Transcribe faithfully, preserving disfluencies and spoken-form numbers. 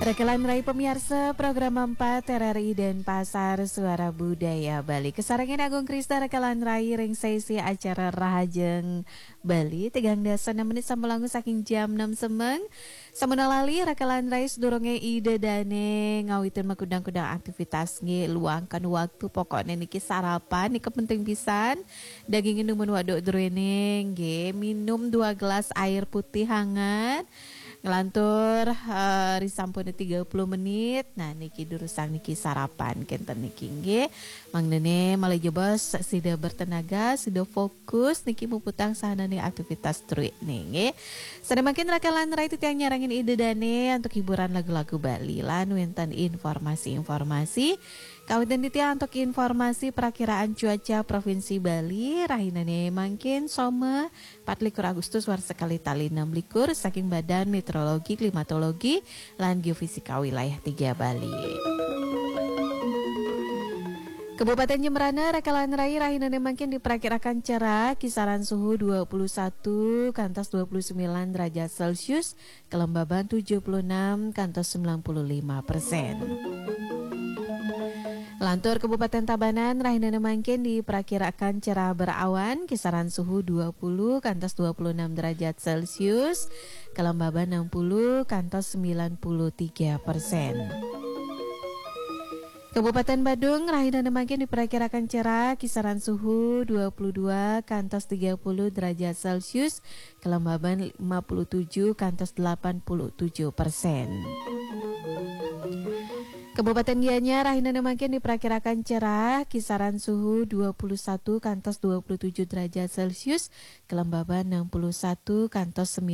Rakalan rai pamiarsa program empat R R I Denpasar, Suara Budaya Bali. Kasarengin Agung Krista, rakalan rai, ring sesi acara Rahajeng Bali, tigang dasa enam menit sampun langkung saking jam enam semeng. Sampun lali, rakalan rai, sadurunge Ida Dane ngawitin makudang-kudang aktivitas nggih, luangkan waktu, pokokne niki sarapan nika penting pisan. Dagingin dumun waduk druene nggih, minum dua gelas air putih hangat. Nglantur, eh, risampun tiga puluh menit. Nah, niki durusang niki sarapan kenten niki nggih. Mangdene malih jebos sida bertenaga, sida fokus niki muputang sahanane aktivitas druene nggih. Sane mangkin rakalan rai, titiang nyarengin Ida Dane antuk hiburan lagu-lagu Bali lan wenten informasi-informasi. Kawitin titiang antuk informasi prakiraan cuaca Provinsi Bali, rahinane mangkin Soma, patlikur Agustus warsa kalih tali enam likur, saking Badan Meteorologi, Klimatologi, lan Geofisika Wilayah tiga Bali. Kabupaten Jembrana, rakalan rai, rahinane mangkin diperkirakan cerah, kisaran suhu dua puluh satu kantos dua puluh sembilan derajat Celcius, kelembaban tujuh puluh enam kantos sembilan puluh lima persen. Lantur Kabupaten Tabanan, rahinane mangkin diperkirakan cerah berawan, kisaran suhu dua puluh kantos dua puluh enam derajat Celcius, kelembaban enam puluh kantos sembilan puluh tiga persen. Kabupaten Badung, rahinane mangkin diperkirakan cerah, kisaran suhu dua puluh dua kantos tiga puluh derajat Celcius, kelembaban lima puluh tujuh kantos delapan puluh tujuh persen. Kabupaten Gianyar, rahinane mangkin diperkirakan cerah, kisaran suhu dua puluh satu kantos dua puluh tujuh derajat Celcius, kelembaban enam puluh satu kantos sembilan